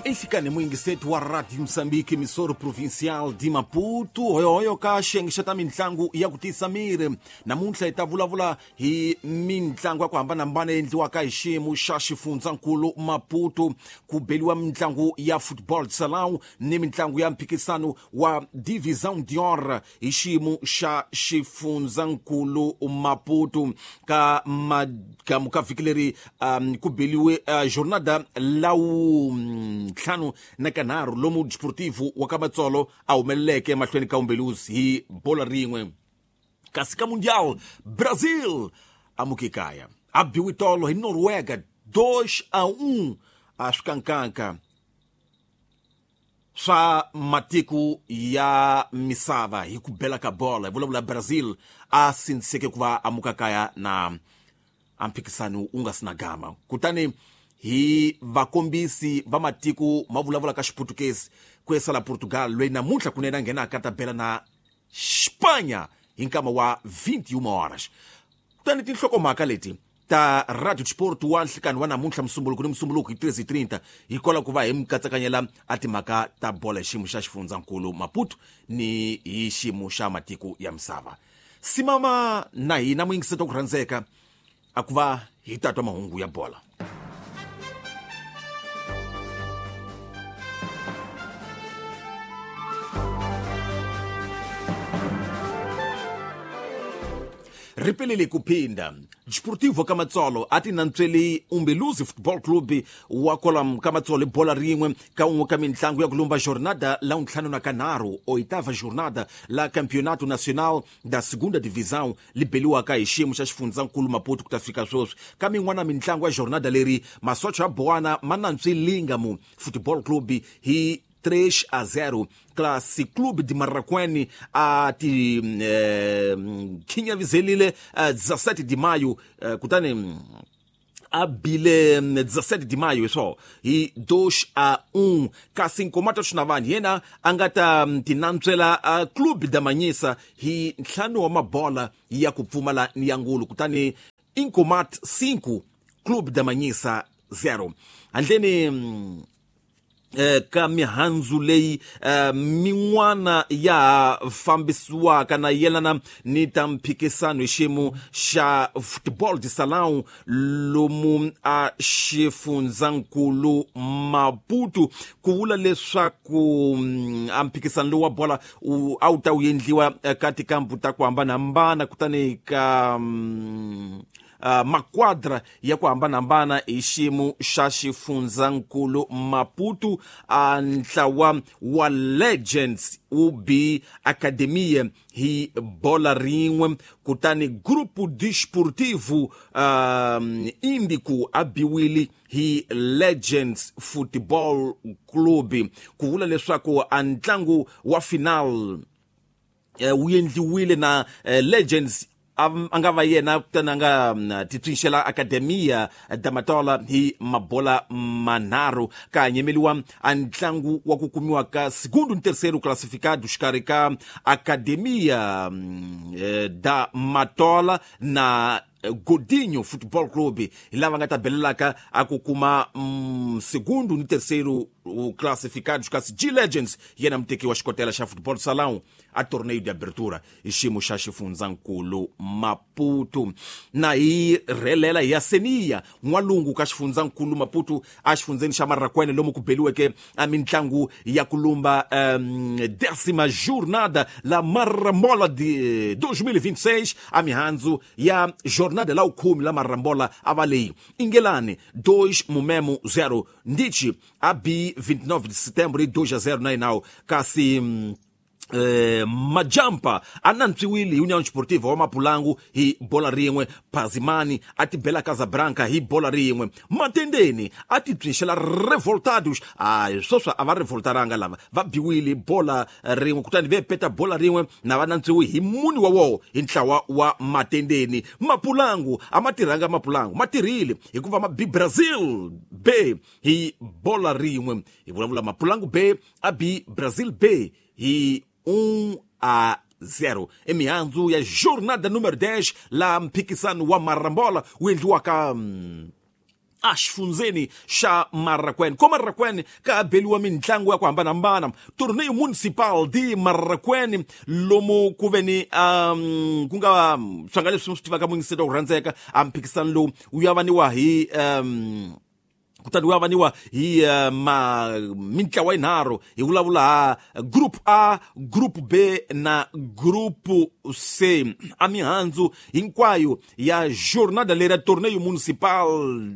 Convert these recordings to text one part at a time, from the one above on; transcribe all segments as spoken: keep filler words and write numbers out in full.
Enhlikani muyingiseti wa Radio Moçambique, emissora provincial de Maputo, hoyohoyo ka xiyenge xa ta mitlangu ya ku tiyisa miri. Namuntlha hi ta vulavula hi mitlangu ya ku hambanahambana yi endliwaka hi xiyimo xa xifundzankulu Maputo. Ku beliwa mitlangu ya football salão ni mitlangu ya mphikisano wa Divisão d'Or hi xiyimo xa xifundzankulu Maputo. Ka magamu ka vhiki leri um, ku beliwe uh, jornada lawu ntlhanu na kanharhu lomu Desportivo wa ka Matsolo a humeleleke emahlweni ka Umbeluzi hi bola rin'we. Kasi ka Mundial, Brazil amuke kaya a biwe tolo hi Noruega dois a um a swikankanka swa matiko ya misava hi ku bela ka bola. Hi vulavula Brazil a sindziseke ku va amuka kaya na a mphikisano wu nga si na gama. Kutani hi vakombisi va matiko ma vulavula ka Xiputukezi ku yesala Portugal loyi namuntlha kunene a nghenaka ta bela na Espanha hi nkama wa vinte e uma horas. Kutani tinhlokomhaka leti ta Radio Sport wa nhlikani wa namuntlha musumbuluko ni musumbuluko hi treze e trinta hi kola ku va hi mikatsakanyela a timhaka ta bola hi xiyimo xa xifundzankulu Maputo ni hi xiyimo xa matiko ya misava. Simama na hina muyingiseti wa ku rhandzeka a ku va hi tatwa mahungu ya bola. Ripelele ku phinda Desportivo ka Matsolo a ti nantsweli Umbeluzi Football Club wa kolam ka Matsolo bola rin'we ka un'we ka mitlangu ya ku lumba jornada la ntlhanu na kanharhu oitava jornada la Campeonato Nacional da Segunda Divisão li beliwaka hi xiyimo xa xifundzankulu Maputo ku ta fika sweswi. Ka min'wana mitlangu ya jornada leri masocha ya Boana ma nantswi Lingamo Football Club hi três a zero. Classe Clube de Marraquene a ti eh, kinyavizelile eh, dezassete de maio eh, kutani a bile dezassete de maio swo hi dois a um. Kasi Nkomata Xinavani yena a nga ta tinantswela uh, Clube da Manhisa hi ntlhanu wa mabola ya ku pfumala ni ya ngulu. Kutani Incomat cinco Clube da Manhisa zero. Handleni eh, ka mihandzu leyi eh, min'wana ya fambisiwaka na yelana ni ta mphikisano hi xiyimo xa football de salão lomu a xifundzankulu Maputo. Ku vula leswaku a mphikisano lowu wa bola a wu ta wu endliwa ka tikampu ta ku hambanahambana kutani ka mm, Uh, makwadra ya ku hambanahambana hi xiyimo xa xifundzankulu Maputo. A ntlawa wa Legends wu bi Academia hi bola rin'we. Kutani Grupo Desportivo uh, Índico a biwile hi Legends Football Club. Ku vula leswaku a ntlangu wa final uh, wu endliwile na uh, Legends a nga va yena kutani a nga titswinxela Academia da Matola hi mabola manharhu. Ka nyemeliwa a ntlangu wa ku kumiwa ka segundo ni terceiro classificado xikarhi ka Academia da Matola na Godinho Football Club hi lava nga ta belelaka a ku kuma mm, segundo ni terceiro classificados. Kasi G Legends yena muteki wa xikotela xa football salão a torneio de abertura hi xiyimo xa xifundzankulu Maputo. Na hi rhelela hi ya Seniya n'walungu ka xifundzankulu Maputo a xifundzeni xa Marraquene lomu ku beliweke a mitlangu ya ku lumba um, décima jornada la Marambola de dois mil e vinte e seis a mihandzu ya jornada la ukumi la Marambola a va leyi Ingelani dois Mumemo zero Ndichi a bi vinte e nove de setembro e dois a zero na Inau. Kasi mm, eh, Majampa a nantswiwile hi União Desportiva wa Mapulangu hi bola rin'we. Pazimani a ti bela Casabranca hi bola rin'we. Matendeni a ti byinxela Revoltados. A sweswi a va revoltaranga lava va biwile bola rin'we kutani ve peta bola rin'we na va nantswiwi hi muni wa woho hi ntlawa wa Matendeni. Mapulangu a ma tirhanga Mapulangu ma tirhile hikuva ma bi Brazil B hi bola rin'we. Hi vulavula Mapulangu B a bi Brazil B hi um a zero. Emihandzu ya jornada número dez la mphikisano wa Marambola wu endliwaka mm, a xifundzeni xa Marraquene. Ko Marraquene ka beliwa mintlangu ya ku hambanahambana. Torneio Municipal de Marraquene lomu ku ve ni um, ku nga swanga leswi swi tivaka munisita ku rhandzeka a mphikisano lowu wu yavaniwa hi um, kutani wu avaniwa hi uh, ma mintlawa yinharhu. Hi vulavula ha group A, group B na group C. A mihandzu hinkwayo ya jornada leri ya Torneio Municipal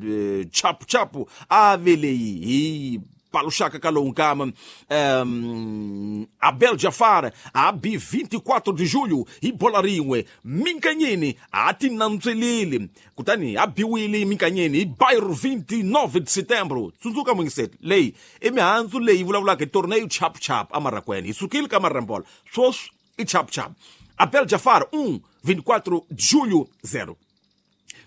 eh, chapu chapu a ve leyi hi paluxaka ka lowu nkama. um, Abel Jafar a bi vinte e quatro de julho hi bola rin'we. Minkanyeni a ti nantsweleli kutani a biwile Minkanyeni hi Bairro vinte e nove de setembro. Tsundzuka mungiseti leyi i mihandzu leyi vulavulaka hi Torneio Chapu Chapu a Marraquene. Hi sukile ka Marambola, sweswi i Chapu Chapu. Abel Jafar um, vinte e quatro de julho zero.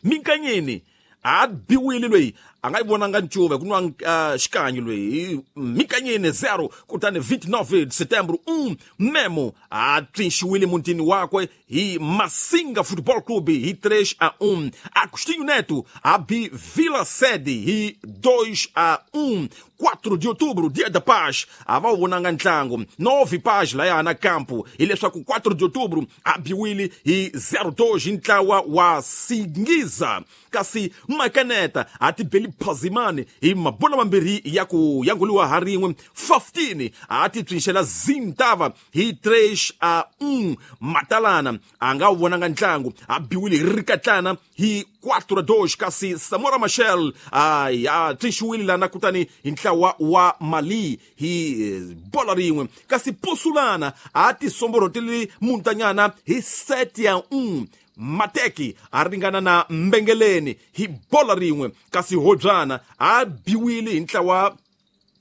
Minkanyeni a biwile loyi a nga yi vonanga ncuva ku nwa uh, xikanyi loyi Minkanyeni zero kutani vinte e nove de setembro um. Memo a tsinxiwile mutini wakwe hi Massinga Futebol Clube hi três a um. Agostinho Neto a bi Vila Sede hi dois a um. quatro de outubro, dia da paz, a va vonanga ntlangu nove paz laya na campo hileswaku quatro de outubro a biwile hi zero dois ntlawa wa Singiza. Kasi Makaneta a ti beli Phazimani hi mabola mambirhi ya ku yanguliwa ha rin'we. quinze a ti psinxela Zintava hi três a um. Matalana a nga wu vonanga ntlangu a biwile hi Rikatlana hi quatro a dois. Kasi Samora Machel a ya tsinxiwile lana kutani hi ntlawa wa Mali hi bola rin'we. Kasi Posulana a ti somborotile Muntanyana hi sete a um. Mateki a ringana na Mbengeleni hi bola rin'we. Kasi Hodzana a biwile hi ntlawa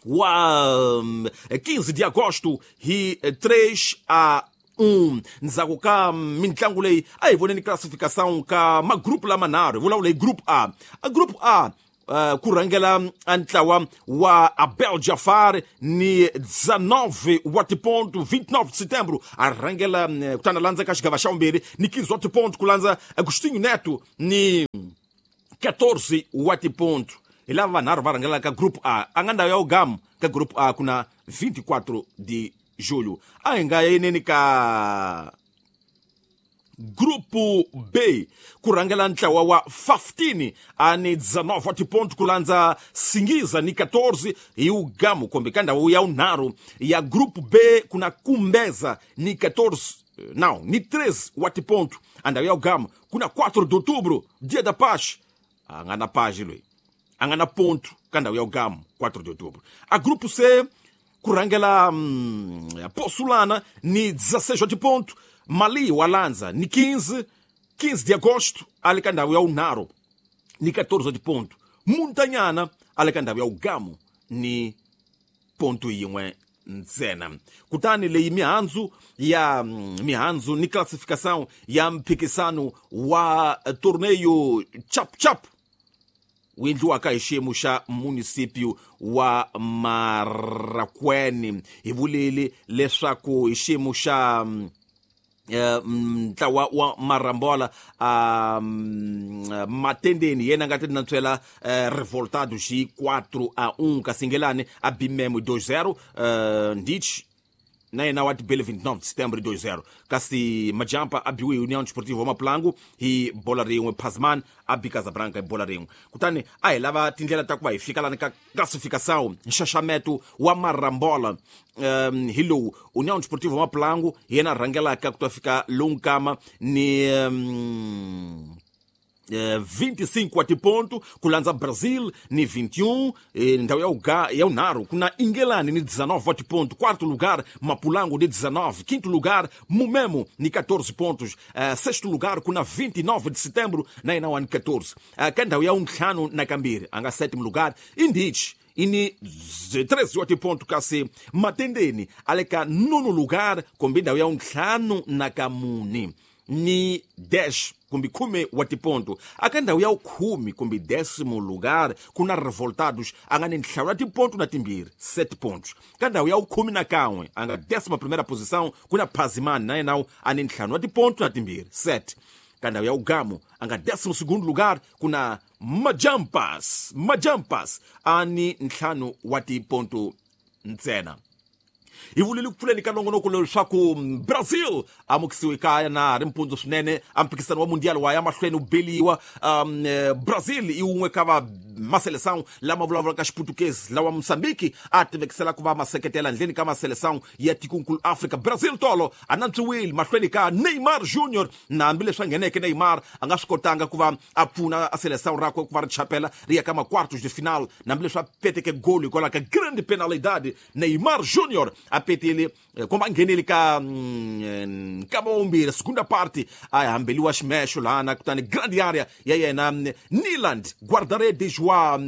wa quinze de agosto hi três a um. Ndzhaku ka mintlangu leyi a hi voneni classificação ka magrupu lamanharhu. Hi vulavula hi group A. A group A Uh, ku rhangela ntlawa wa Abel Jafar ni dezenove wa tiponto vinte e nove de setembro a rhangela kutani a landza ka xigava xa vumbirhi ni quinze wa tiponto ku landza Agostinho Neto ni quatorze wa tiponto. Hi lava vanharhu va rhangelaka group A. A nga ndhawu ya ugamu ka group A ku na vinte e quatro de julho. A hi nga yeneni ka Grupo B ku rhangela ntlawa wa quinze a ni dezenove wa tiponto ku landza Singiza ni quatorze hi ugamu kumbe ka ndhawu ya vunharhu ya Grupo B ku na Kumbeza ni quatorze não ni treze wa tiponto. A ndhawu ya ugamu ku na quatro de outubro, dia da paz. A nga na paz loyi a nga na ponto ka ndhawu ya ugamu quatro de outubro. A Grupo C ku rhangela hum, Posulana ni dezesseis wa tiponto. Mali wa landza ni quinze, quinze de agosto ali ka ndhawu ya vunharhu ni quatorze de ponto. Muntanyana ali ka ndhawu ya ugamu ni ponto yin'we ntsena. Kutani leyi mihandzu ya mihandzu ni classificação ya mphikisano wa Torneio Chapu Chapu wu endliwaka hi xiyimo xa munisipio wa Marraquene. Hi vulile leswaku hi xiyimo xa ntlawa wa Marambola um, Matendeni yena nga ti nantswela uh, Revoltado xi quatro a um. Kasingelani a bimemo dois zero. uh, Ndich na yena wa tibele vinte e nove de setembro dois zero. Kasi Majampa a biwe União Desportiva Maplango hi bola rin'we. Pasman a bi Casabranca hi bola rin'we. Kutani a hi lava tindlela ta ku va hi fika lani ka classificação nxaxameto wa Marambola um, hi lowu União Desportiva Maplango hi yena rhangelaka ku ta fika lowu nkama ni um, vinte e cinco wa tiponto ku landza Brazil ni vinte e um, ndhawu ya uga ya unharhu ku na Ingelani ni dezenove wa tiponto. Quarto lugar Mapulango ni dezenove, quinto lugar Mumemo ni quatorze pontos, uh, sexto lugar ku na vinte e nove de setembro na yena wa ni quatorze. Uh, ka ndhawu ya untlhanu na kambirhi a nga sétimo lugar Indich ini treze wa tiponto. Kasi Matendeni a le ka nono lugar kumbe ndhawu ya untlhanu na kamuni ni dez kumbe khume wa tiponto. Aka ndhawu ya khume kumbe décimo lugar ku na Revoltados a nga ni ntlhanu wa tiponto na timbirhi sete pontos. Ka ndhawu ya khume na kan'we a nga décima primeira posição ku na Phazimani na yena a ni ntlhanu wa tiponto na timbirhi sete. Ka ndhawu ya ugamu a nga décimo segundo lugar ku na Majampas Majampas a ni ntlhanu wa tiponto ntsena. Hi vulile ku pfuleni ka nongonoko leswaku Brazil amukisiwe kaya na ri mpundzu swinene a mphikisano wa mundial wa ya mahlweni wu beliwa. um, Brazil i wun'we ka va maseleção lama vulavulaka xiputukezi lawa Mozambique a tivekisela ku va maseketela ndleni ka maseleção ya tikonkulu Africa. Brazil tolo a nantswiwile mahlweni ka Neymar Junior, na hambileswi a ngheneke Neymar a nga swi kotanga ku va a pfuna a seleção rakwe ku va ri chapela ri ya ka ma-quartos de final, na hambileswi a peteke goli hikwalaho ka grande penalidade. Neymar Junior a petele komba a nghenele ka nkama wa vumbirhi segunda parte a hambeliwa ximexo lana, kutani grande area ya yena Nyland guarda-redes wa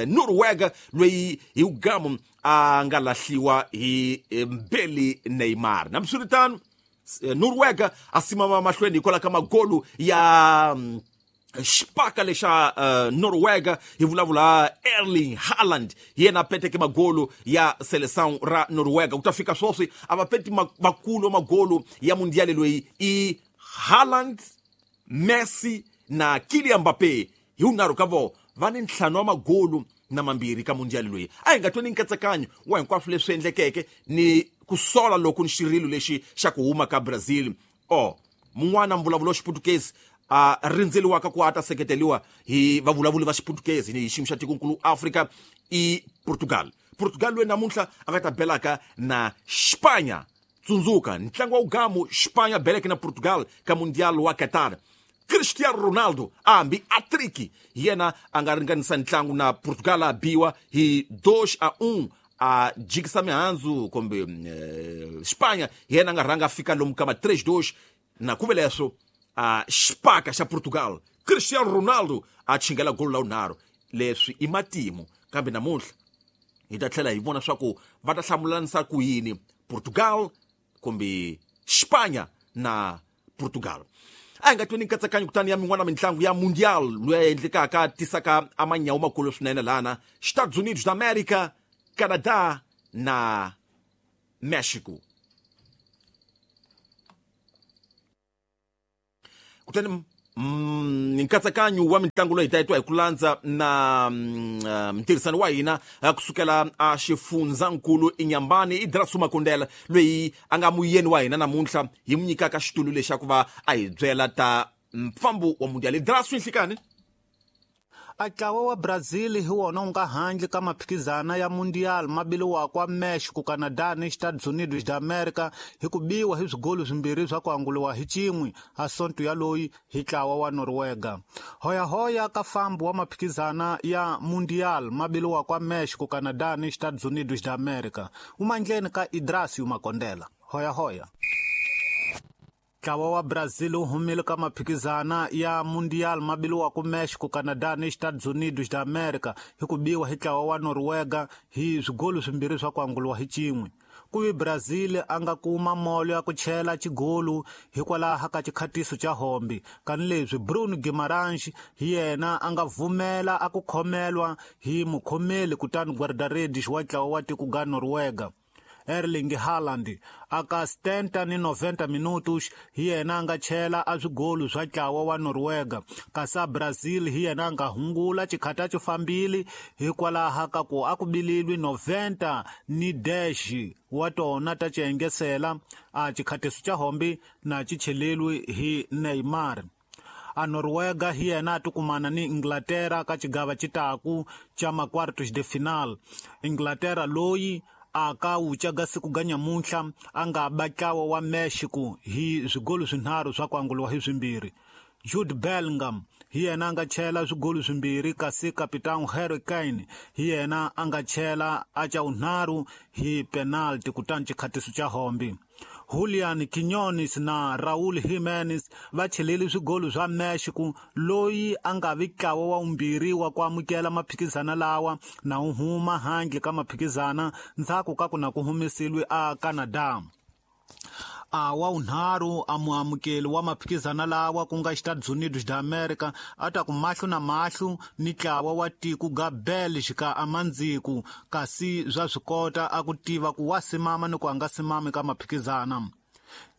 Noruega loyi hi ugamu a nga lahliwa hi Mbeli Neymar. Nambiswiritano Noruega a simama mahlweni hikwalaho ka magolu ya xipaka lexa uh, Noruega. Hi vulavula Erling Haaland, hi yena a peteke magolu ya seleção ra Noruega. Ku ta fika sweswi a va peti makulu magolu ya mundial loyi i Haaland, Messi na Kylian Mbappé. Hi wunharhu ka vo va ni ntlhanu wa magolu na mambirhi ka mundial loyi. A hi nga tweni nkatsakanyo wa hinkwaswo leswi endlekeke ni ku sola loko ni xirilo lexi xa ku huma ka Brazil. O mun'wana mbulavulo wa xiputukezi a rindzeliwaka ku a ta seketeliwa hi vavulavuli va xiputukezi ni hi xiyimo xa tikonkulu Africa i Portugal. Portugal loyi namuntlha a nga ta belaka na Spanya. Tsundzuka ntlangu wa ugamu Spanya beleke na Portugal ka mundial wa Qatar. Cristiano Ronaldo a hambi atriki hi yena a nga ringanisa ntlangu na Portugal a biwa hi dois a um a jikisa mihandzu kumbe eh, Spanya hi yena a nga rhanga a fika lomu ka ma três dois na ku ve leswo a xipaka xa Portugal Cristiano Ronaldo a chingela golo la wunharhu. Leswi i matimu, kambe namuntlha hi ta tlhela hi vona swa ku va ta hlamulanisa ku yini Portugal kumbe Spanya na Portugal. A hi nga tweni nkatsakanyo kutani ya min'wana mintlangu ya mundial loyi endlekaka tisaka a manyawu makulu swinene lana Estados Unidos da América, Canadá na Mexico. Kutani mm, nkatsakanyo wa mitlangu loyi hi ta yi twa hi ku landza na mm, ntirhisano wa hina kusukela a xifundzankulu Inyambani i Drasu Makondela loyi a nga muyeni wa hina namuntlha hi mu nyikaka xitulu lexi ku va a hi byela ta mfambo wa mundial. Drasu nhlikani. A ntlawa wa Brazil hi wona wu nga handle ka maphikizana ya mundial mabiliwaka wa Mexico, Canada ni Estados Unidos da America hi ku biwa hi swigolo swimbirhi swa ku anguliwa hi xin'we a sonto ya loyi hi ntlawa wa Noruega. Hoyahoya ka fambo wa maphikizana ya mundial mabiliwaka wa Mexico, Canada ni Estados Unidos da America wu mandleni ka Idrasio Makondela. Hoyahoya. Ntlawa wa Brazil wu humile ka maphikizana ya mundial mabiliwaka Mexico, Canada ni Estados Unidos da America hi ku biwa hi ntlawa wa Noruega hi swigolo swimbirhi swa ku anguliwa hi xin'we. Ku vi Brazil a nga kuma molo ya ku chela xigolu hikwalaho ka xikhatiso xa hombi, kanileswi Bruno Guimarães hi yena a nga vumela a ku khomelwa hi mukhomeli kutani guarda-redes wa ntlawa wa tiko ga Noruega. Erling Haaland aka setenta ni noventa minutos hi yena a nga chela a swigolu swa ntlawa wa Noruega, kasi a Brazil hi yena a nga hungula xikhata xo fambile hikwalaho ka ku a ku bililwi noventa ni dash wa tona ta xiengesela a xikhatiso xa hombi na xi chelelwi hi Neymar. A Noruega hi yena a tikumana ni Inglaterra ka xigava xitaku xa ma-quartos de final. Inglaterra loyi a ka wuca ga siku ga nyamuntlha a nga ba ntlawa wa Mexico hi swigolo swinharhu swa ku anguliwa hi swimbirhi. Jude Bellingham hi yena a nga chela swigolo swimbirhi, kasi kapitani Harry Kane hi yena a nga chela a ca wunharhu hi penalty kutani xikhatiso xa hombi. Julian Quiñones na Raúl Jiménez va chelele swigolo swa Mexico loyi a nga vi ntlawa wa vumbirhi wa ku amukela maphikizana lawa na wu huma handle ka maphikizana ndzhaku ka ku na ku humeseliwe a Canada. A wa wunharhu a muamukeli wa maphikizana lawa ku nga Estados Unidos da America a ta ku mahlo na mahlo ni ntlawa wa tiko ga Belgica a mandziku, kasi swa swi kota a ku tiva ku wa simama ni ku a nga simami ka maphikizana.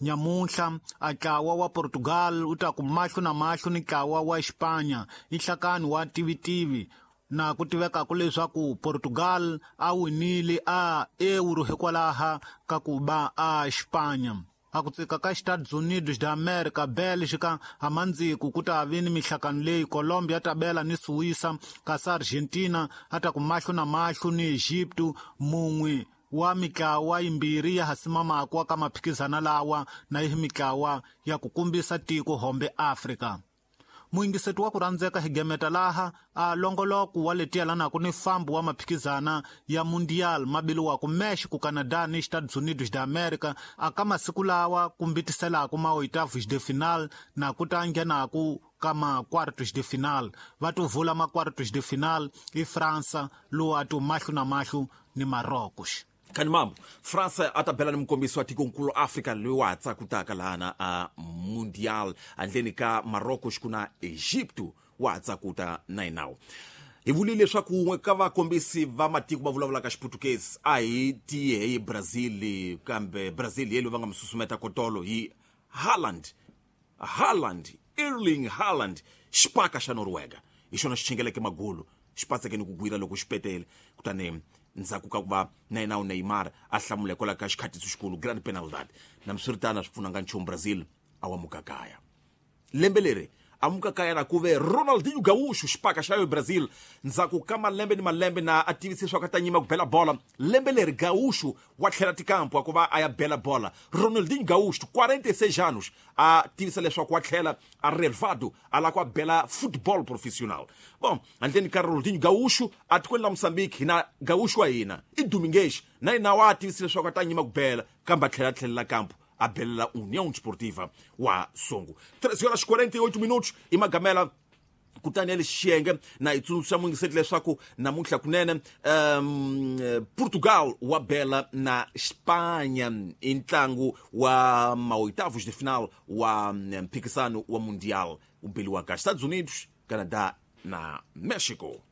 Nyamuntlha a ntlawa wa Portugal wu ta ku mahlo na mahlo ni ntlawa wa Xipanya i nhlakani wa tivitivi na ku tivekaku leswaku Portugal a winile a Euro hikwalaha ka ku ba a Xipanya. A ku tsika ka Estados Unidos da América, Bélgica, amandziku ku ta vi ni mihlakano leyi Colombia ta bela ni Suíça, kasi Argentina a ta ku mahlo na mahlo ni Egipto, mun'we wa mitlawa yimbirhi ya hasimamako ka maphikizana lawa na yi mitlawa ya ku kumbisa tiko hombe Afrika. Muyingiseti wa ku rhandzeka hi gemeta laha a longoloko wa leti yelanaka ni fambo wa maphikizana ya Mundial mabiliwaka Mexico, Canada ni Estados Unidos da América a ka masiku lawa kumbitiselaka ma oitavos de final na ku ta nghenaku ka ma quartos de final. Va to vula ma quartos de final i Fransa lowu a to mahlo na mahlo ni Marrocos. Kani mambo Fransa a ta bela ni mukombisi wa tikonkulu Afrika loyi wa ha tsakutaka lahana a Mundial handleni ka Marrocos ku na Egipto wa ha tsakuta na yinawo. Hi vulile leswaku wun'we ka vakombisi va matiko va vulavulaka Xiputukezi a hi tiye hi Brazil, kambe Brazil hi loyi va nga mi susumeta kotolo hi Haaland. Haaland, Erling Haaland, xipaka xa Norwega hi xona xi chingeleke magolo xi patseke ni ku gwira loko xi petele, kutani ndzhaku ka ku va na yena Neymar a hlamula hikwalaho ka xikhatiso xikulu grand penalty. Na swiritano swi pfunanga nchumu, Brazil a wa mukakaya. Lembe leri a mukakaya na ku ve Ronaldinho Gaúcho xipaka xa yo Brazil ndzhaku ka malembe ni malembe na a tivise leswaku a ta nyima ku bela bola. Lembe leri Gaúcho wa tlhela tikampo a ku va a ya bela bola. Ronaldinho Gaúcho quarenta e seis anos a tivisa leswaku wa tlhela a relvado a lava ku a bela football profissional. Bom, handleni ka Ronaldinho Gaúcho a tikweni la Mozambique hina Gaúcho wa hina i Domingues na yena wa tivisa leswaku a ta nyima ku bela kambe a tlhela tlhelela kampo a belela União Desportiva wa Songo. treze horas quarenta e oito minutos e Magamela kutani ya lexiyenge na hi tsundzuxa muyingiseti leswaku namuntlha kunene um, Portugal wa bela na Espanha i ntlangu wa maoitavos de final wa mphikisano wa Mundial wu beliwaka Estados Unidos, Canadá na México.